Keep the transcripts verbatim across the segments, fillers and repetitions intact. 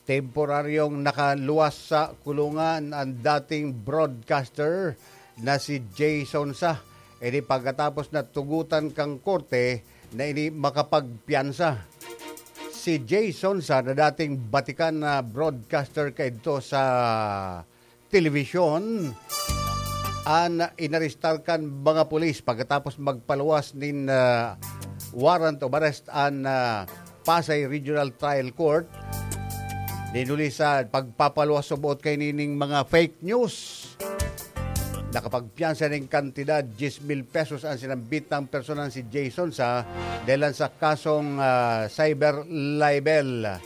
Temporaryong nakaluwas sa kulungan an dating broadcaster na si Jason Sa. Ini pagkatapos na tugutan kan korte na ini makapagpiyansa. Si Jason Sa na dating batikan na broadcaster kaidto sa telebisyon, an inarestar kan mga pulis pagkatapos magpaluwas nin, ah, warrant of arrest an, ah, Pasay Regional Trial Court. Nin huli sa pagpapaluwas suboot kaining mga fake news, nakapagpiyansa nin kantidad diyes mil pesos an sinambit na personang si Jason Sa dahilan sa kasong, ah, cyber libel.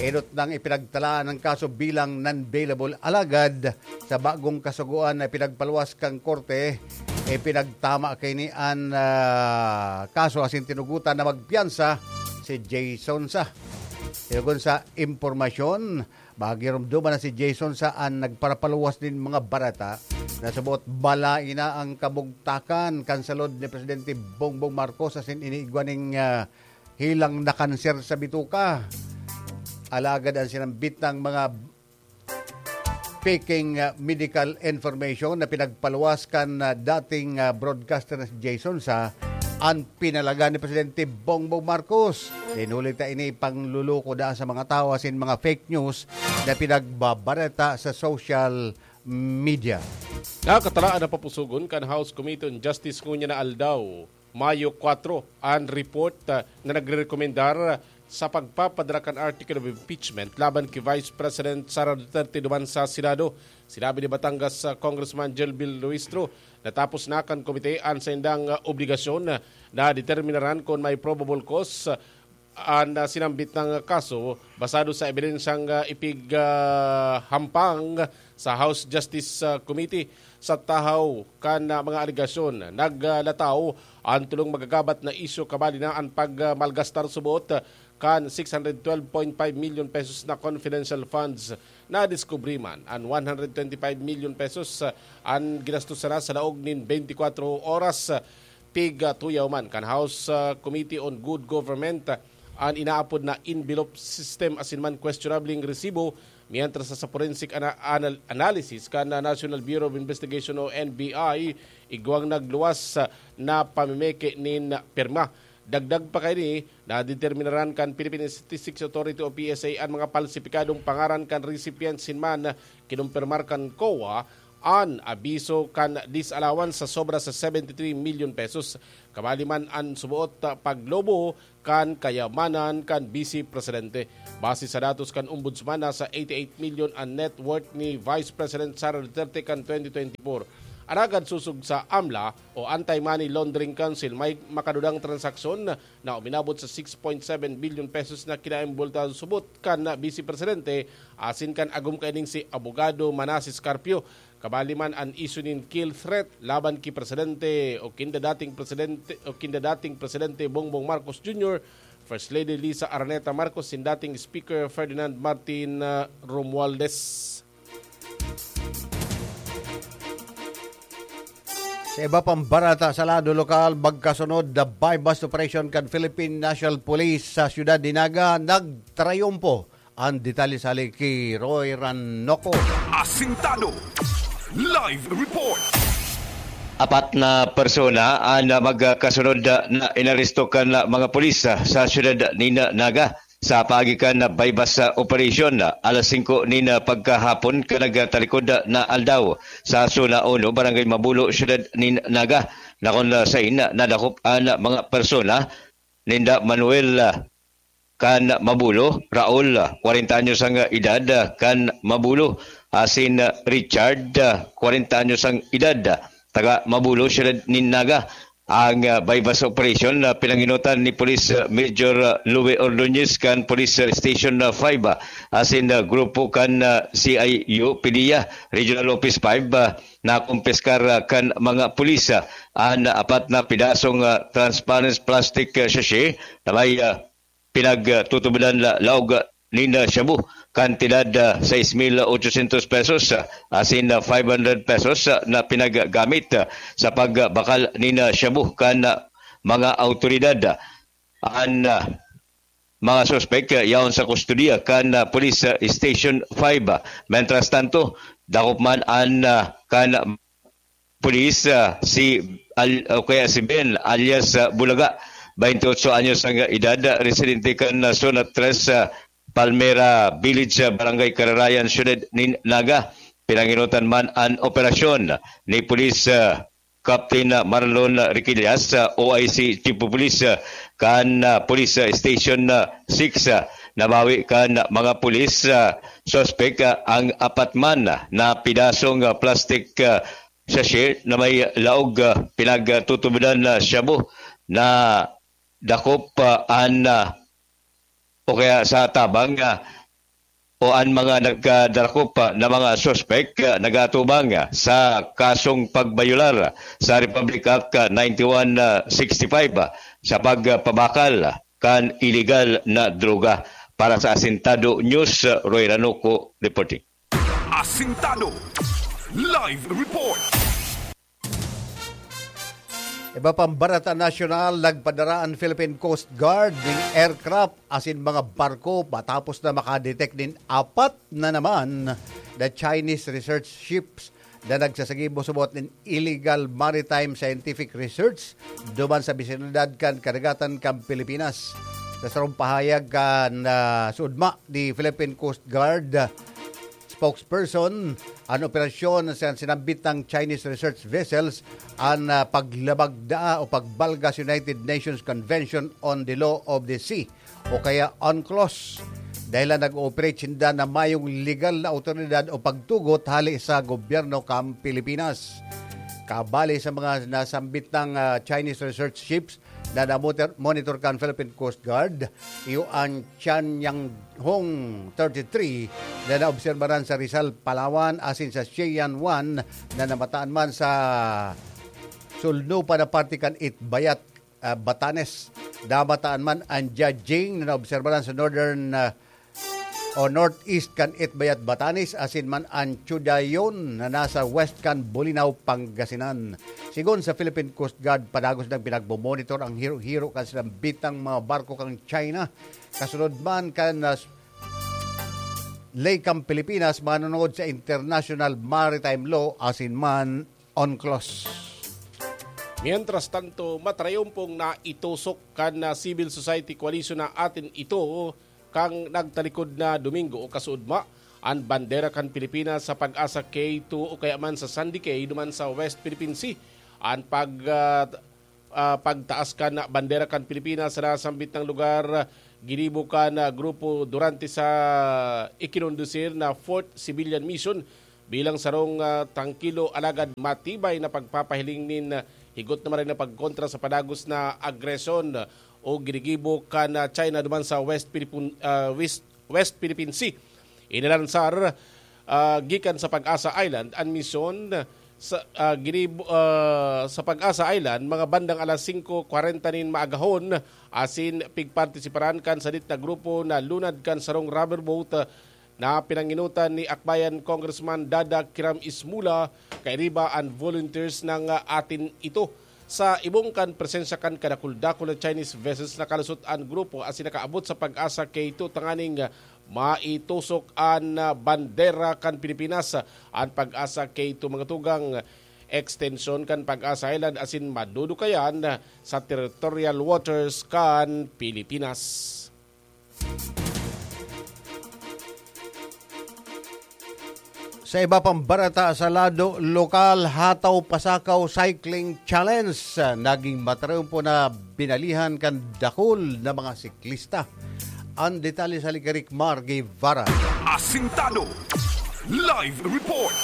Enot nang ipinagtalaan ang kaso bilang non-bailable, alagad sa bagong kasugoan na pinagpaluwas kan korte, ipinagtama kaini an, ah, kaso asin tinugutan na magpiyansa si Jason Sa. Sinugon sa impormasyon, magirumduman na si Jason Sa an nagparapaluwas nin mga bareta na suboot balaina ang kabugtakan kan salud ni Presidente Bongbong Marcos asin iniigwa ning, ah, hilang na kanser sa bituka. Alagad ang sinambit ng mga faking, ah, medical information na pinagpaluwas kan, ah, dating, ah, broadcaster na si Jason Sa an pinalaga ni Presidente Bongbong Marcos. Dinulita ini pangluluko da sa mga tawo asin mga fake news na pinagbabareta sa social media. Nakatalaan na papusogon kan House Committee on Justice ngunyan na aldaw, Mayo kwatro, an report, ah, na nagrerekomendar sa pagpapadara kan article of impeachment laban ki Vice President Sara Duterte duman sa Senado. Sinabi ni Batangas, ah, Congressman Jelvil Luistro na tapos na kan komite an saindang, ah, obligasyon na determinaran kun may probable cause, ah, an, ah, sinambit na kaso basado sa ebidensyang, ah, ipig, ah, hampang sa House Justice, ah, Committee. Sa tahaw kan, ah, mga alegasyon, naglataw an tolong magagabat na isyu, kabali na an pag, ah, malgastar suboot kan six hundred twelve point five million pesos na confidential funds. Nadiskubre man an one hundred twenty-five million pesos, ah, an ginastos sana sa laog nin twenty-four oras. Pigtuyaw man kan House, ah, Committee on Good Government, ah, an inaapod na envelope system asin man questionableng resibo, mientras sa forensic ana-, anal-, analysis kan, ah, National Bureau of Investigation o N B I, igwang nagluwas, ah, na pamimeke nin pirma. Dagdag pa kaini, nadeterminaran kan Philippine Statistics Authority o P S A an mga palsipikadong pangaran kan recipient asin man kinumpirmar kan COA an abiso kan disallowance sa sobra sa seventy-three million pesos. Kabali man an suboot, ah, paglobo kan kayamanan kan Vice Presidente. Base sa datos kan Ombudsman, nasa eighty-eight million an net worth ni Vice President Sara Duterte kan twenty twenty-four. Alagad sosog sa AMLA o Anti-Money Laundering Council, may makadudang transaksyon na uminabot sa six point seven billion pesos na kinaembultahan subot kan Vice Presidente asin kan agom kaining si Abogado Manases Carpio. Kabali man an isyu nin kill threat laban ki Presidente o kinda dating Presidente, o kinda dating Presidente Bongbong Marcos Junior, First Lady Liza Araneta Marcos, sin dating Speaker Ferdinand Martin, ah, Romualdez. Sa iba pang bareta sa lado lokal, magkasunod na buy-bust operation kan Philippine National Police sa siyudad ni Naga nagtrayumpo. Ang detalye sa hali ki Roy Ranoco. Asintado. Live report. Apat na persona an magkasunod na inaresto kan mga pulis sa siyudad nin Naga sa paagi kan buy-bust operation alas singko nin pagkahapon kan nagtalikod na aldaw sa Zona Uno, Barangay Mabulo, siyudad nin Naga, na kun sain nadakop an mga persona ninda Manuel kan Mabulo, Raul, kwarenta anyos ang edad, kan Mabulo, asin Richard, kwarenta anyos ang edad, taga Mabulo, siyudad nin Naga. Ang, ah, buy-bust operation na pinangenotan ni Police, ah, Major, ah, Louie Ordonez kan Police, ah, Station, ah, five, ah, asin, ah, grupo kan, ah, C I U PDEA Regional Office five, ah, nakumpiskar, ah, kan mga pulis, ah, an apat na pidasong, ah, transparent plastic, ah, sachet na may, ah, pinagtutubodan la-, laog nin, ah, shabu, kantidad, ah, sais mil ochocientos pesos, ah, asin, ah, five hundred pesos, ah, na pinaggamit, ah, sa pagbakal nin, ah, shabu kan, ah, mga awtoridad. An, ah, mga suspek, ah, yaon sa kustodiya kan, ah, Police, ah, Station five. Mientras tanto, dakop man an, ah, kan pulis, ah, si Al-, o kaya si Ben alias, ah, Bulaga, twenty-eight anyos ang edad, ah, residente kan, ah, Zona tres, ah, Palmera Village, ah, Barangay Kararayan, Siyudad nin Naga. Pinanginutan man an operasyon ni Pulis, ah, Captain, ah, Marlon Riquillas, ah, O I C Chief of Police, ah, kan, ah, Police, ah, Station, ah, six, ah, nabawi kan mga pulis, ah, suspek, ah, ang apat man na pidasong, ah, plastic, ah, sachet na may laog, ah, pinagtutubodan na shabu na dakop, ah, an, ah, o kaya sa tabang, ah, o an mga nagkadarakop, ah, na mga suspek, ah, nagatubang, ah, sa kasong pagbayular sa Republic Act, ah, ninety-one sixty-five, ah, sa pagpabakal kan iligal na droga. Para sa Asintado News, ah, Roy Ranuco reporting. Asintado Live Report. Iba pang barata nasyonal, nagpadara an Philippine Coast Guard nin aircraft asin mga barko matapos na makadetect nin apat na naman na Chinese research ships na nagsasagibo subot nin illegal maritime scientific research duman sa bisinalidad kan karagatan kan Pilipinas. Sa sarong pahayag kan, ah, sudma ni Philippine Coast Guard spokesperson, an operasyon sa sinambit na Chinese research vessels an, ah, paglabag daa o pagbalga sa United Nations Convention on the Law of the Sea o kaya UNCLOS. Dahil lang nag-ooperate sinda na mayong legal na awtoridad o pagtugot hali sa gobyerno kan Pilipinas. Kabali sa mga nasambit na, ah, Chinese research ships na namotor-, monitor kan Philippine Coast Guard, iyo an Tianyang Hong thirty-three na naobserbaran sa Rizal, Palawan, asin sa Sieyang One na namataan man sa sulno pa na parte kan Itbayat, ah, Batanes. Namataan man an Jiajing na naobserbaran sa northern, ah, o northeast kan Itbayat, Batanes, asin man an Chudayon na nasa west kan Bolinao, Pangasinan. Sigon sa Philippine Coast Guard, padagos nang pinagmomonitor ang hiro-hiro kan sinambitang mga barko kan China. Kasunod man kan, ah, ley kan Pilipinas, manunod sa international maritime law asin man UNCLOS. Mientras tanto, matrayompong naitusok kan, ah, Civil Society Coalition na Atin Ito kan nagtalikod na Domingo o kasuodma an bandera kan Pilipinas sa Pag-asa K two o kaya man sa Sandy Cay duman sa West Philippine Sea. An pag, ah, ah, pagtaas kan bandera kan Pilipinas sa nasambit na lugar, ginibo kan, ah, grupo durante sa ikinondusir na Fourth Civilian Mission bilang sarong, ah, trangkilo alagad matibay na pagpapahiling nin, ah, higot na maray na pagkontra sa padagos na agresyon o ginigibo kan, ah, China duman sa West Philippine, ah, West, West Philippine Sea. Inalansar, ah, gikan sa Pag-asa Island an misyon sa, ah, ginibo, ah, sa Pag-asa Island mga bandang alas singko kwarenta nin maagahon, asin pigpartisiparan kan sadit na grupo na lunad kan sarong rubber boat, ah, na pinanginutan ni Akbayan Congressman Dada Kiram Ismula, kairiba an volunteers na, ah, Atin Ito. Sa ibong kan presensya kan kadakul-dakul na Chinese vessels, nakalusot an grupo asin nakaabot sa Pag-asa K two tanganing, ah, maitusok an, ah, bandera kan Pilipinas. An Pag-asa K two, mga tugang, ekstensyon kan Pag-asa Island asin madudukayan sa territorial waters kan Pilipinas. Sa iba pang barata sa lado lokal, Hataw Pasakaw Cycling Challenge, naging matriumpo na binalihan kan dakul na mga siklista. Ang detalye sa Ligarik Mar Guevara. Asintado Live Report.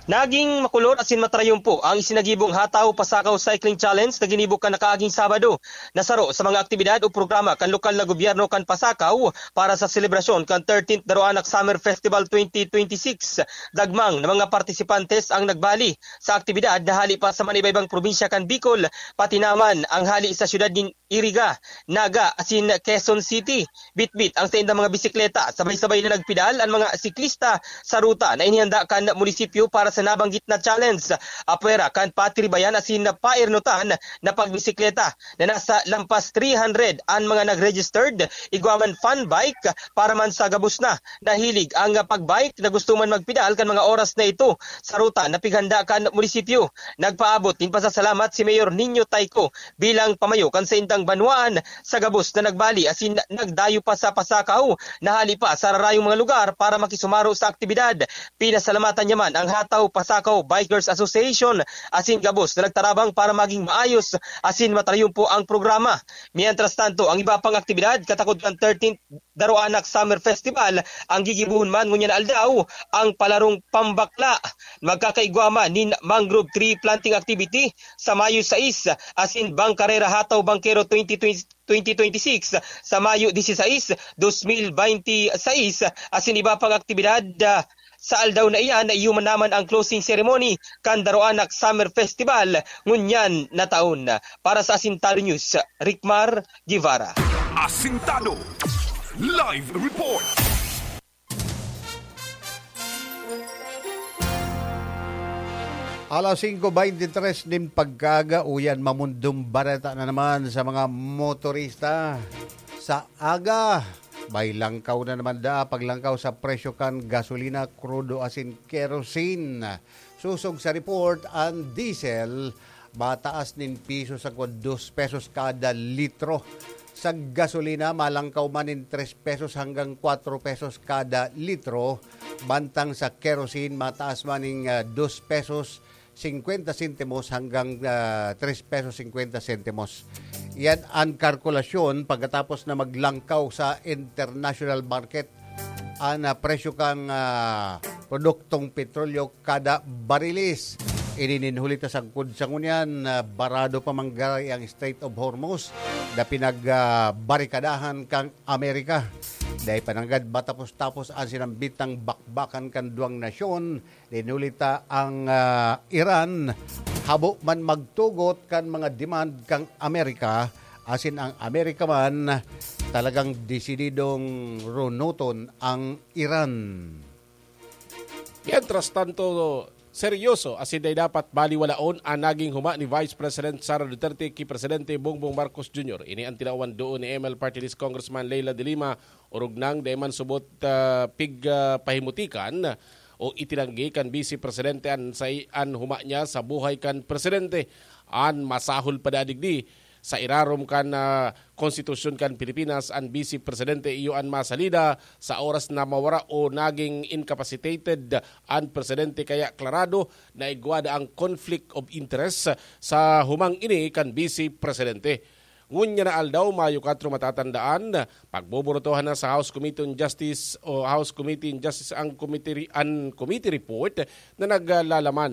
Naging makulor asin matrayumpo ang isinagibong Hataw Pasakaw Cycling Challenge na ginibo kan nakaaging Sabado, na saro sa mga aktibidad o programa kan lokal na gobyerno kan Pasakaw para sa selebrasyon kan thirteenth Daroanak Summer Festival twenty twenty-six. Dagmang na mga partisipantes ang nagbali sa aktibidad na hali pa sa manibaybang probinsya kan Bicol, pati naman ang hali sa siyudad nin Iriga, Naga, asin Quezon City. Bitbit ang saindang mga bisikleta, sabay-sabay na nagpedal ang mga siklista sa ruta na inihanda kan munisipyo para sa nabanggit na challenge. Apwera kan patiribayan asin pairnutan na pagbisikleta na nasa lampas three hundred an mga nag-registered, igwa man fun bike para man sa gabos na nahilig ang pag-bike na gusto man magpedal kan mga oras na ito sa ruta na pighanda kan munisipyo. Nagpaabot nin pasasalamat si Mayor Nino Tayco bilang pamayo kan saindang banwaan sa gabos na nagbali asin nagdayo pa sa Pasakaw na hali pa sa rarayong mga lugar para makisumaro sa aktibidad. Pinasalamatan niya man ang Hataw Pasakaw Bikers Association asin gabos na nagtarabang para maging maayos asin matrayumpo ang programa. Mientras tanto, ang iba pang aktibidad katakod kan thirteenth Daroanak Summer Festival ang gigibohon man ngunyan na aldaw, ang palarong pambakla. Magkakaigwa man nin mangrove tree planting activity sa Mayo sais asin Bangkarera Hataw Bangkero twenty twenty, twenty twenty-six sa Mayo dieciséis, dos mil benti seis, asin iba pang aktibidad, ah, sa aldaw na iyan na iyo man naman ang closing ceremony kan Daroanak Summer Festival ngunyan na taon. Para sa Asintado News, Ricmar Guevara. Asintado Live Report. Alas singko beintitres nin pagkaaga, uyan, mamundong bareta na naman sa mga motorista. Sa aga, may langkaw na naman daa, paglangkaw sa presyo kan gasolina, krudo asin kerosene. Sosog sa report, an diesel mataas nin piso sagkod dos pesos kada litro. Sa gasolina, malangkaw man nin tres pesos hanggang kwatro pesos kada litro, mantang sa kerosene, mataas man nin, ah, dos pesos singkwenta sentimos hanggang, ah, tres pesos singkwenta sentimos. Yan an kalkulasyon pagkatapos na maglangkaw sa international market an, ah, presyo kan, ah, produktong petrolyo kada bariles. Ini nin huli ta sagkod sa ngunyan, ah, barado pa man giraray ang Strait of Hormuz na pinag, ah, barikadahan kan Amerika. Dai pa nanggad matapos-tapos an sinambitang bakbakan kan duwang nasyon. Nin huli ta ang, ah, Iran, habo man magtugot kan mga demand kan Amerika, asin ang Amerika man talagang desididong runuton ang Iran. Mientras tanto, seryoso asin dai dapat baliwalaon an naging huma ni Vice President Sara Duterte ki Presidente Bongbong Marcos Junior. Ini an tinawan duon ni M L Party List Congressman Leila de Lima, orog nang dai man subot, ah, pig, ah, pahimutikan o itinanggi kan Vice Presidente an sai-, an huma niya sa buhay kan Presidente. An masahol pa daa digdi, sa irarom kan, ah, Konstitusyon kan Pilipinas, an Vice Presidente iyo an masalida sa oras na mawara o naging incapacitated an Presidente, kaya klarado na igwa daa ang conflict of interest sa humang ini kan Vice Presidente. Ngunyan na aldaw, Mayo kwatro, matatandaan, pagbobotohan na sa House Committee on Justice o House Committee on Justice ang committee re-, an committee report na naglalaman